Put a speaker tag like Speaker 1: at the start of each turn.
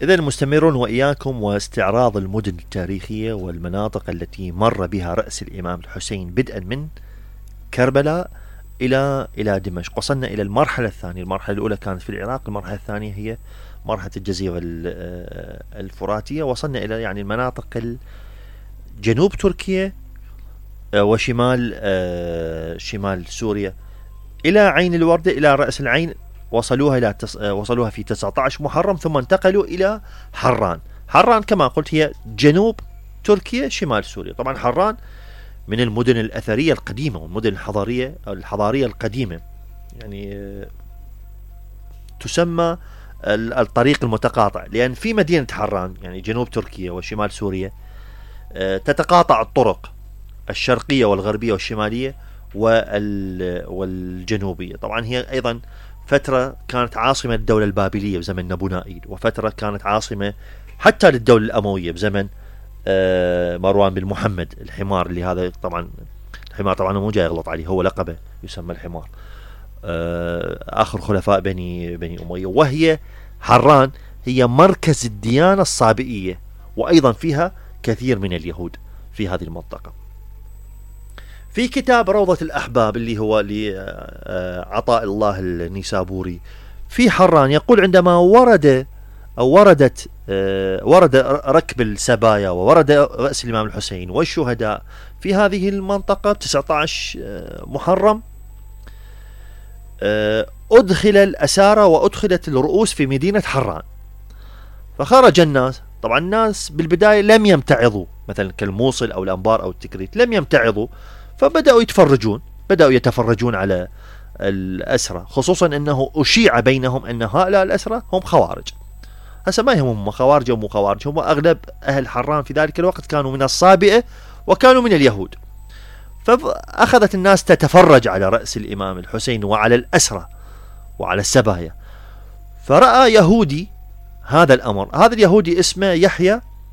Speaker 1: إذا مستمرون وإياكم واستعراض المدن التاريخية والمناطق التي مر بها رأس الإمام الحسين بدءا من كربلاء إلى دمشق. وصلنا إلى المرحلة الثانية. المرحلة الأولى كانت في العراق، المرحلة الثانية هي مرحلة الجزيرة الفراتية. وصلنا إلى يعني المناطق جنوب تركيا وشمال شمال سوريا إلى عين الوردة، إلى رأس العين. وصلوها في 19 محرم، ثم انتقلوا إلى حران. حران كما قلت هي جنوب تركيا شمال سوريا. طبعا حران من المدن الأثرية القديمة والمدن الحضارية القديمة، يعني تسمى الطريق المتقاطع، لأن في مدينة حران يعني جنوب تركيا وشمال سوريا تتقاطع الطرق الشرقية والغربية والشمالية والجنوبية. طبعا هي أيضا فترة كانت عاصمة الدولة البابلية بزمن نبونائيل، وفترة كانت عاصمة حتى للدولة الأموية بزمن مروان بن محمد الحمار، اللي هذا طبعا الحمار طبعا مو جاي يغلط عليه، هو لقبه يسمى الحمار، آخر خلفاء بني أمية. وهي حران هي مركز الديانة الصابئية، وأيضا فيها كثير من اليهود في هذه المنطقة. في كتاب روضة الأحباب اللي هو لعطاء الله النيسابوري في حران يقول عندما ورد ركب السبايا وورد رأس الإمام الحسين والشهداء في هذه المنطقة 19 محرم، أدخل الأسارى وأدخلت الرؤوس في مدينة حران. فخرج الناس، طبعا الناس بالبداية لم يمتعظوا، مثلا كالموصل أو الأنبار أو التكريت لم يمتعظوا، فبدأوا يتفرجون على الأسرى، خصوصا أنه أشيع بينهم أن هؤلاء الأسرى هم خوارج. هسه ما يهمهم خوارج أو مو خوارج، هم أغلب أهل حران في ذلك الوقت كانوا من الصابئة وكانوا من اليهود. فأخذت الناس تتفرج على رأس الإمام الحسين وعلى الأسرى وعلى السبايا. فرأى يهودي هذا الأمر، هذا اليهودي اسمه يحيى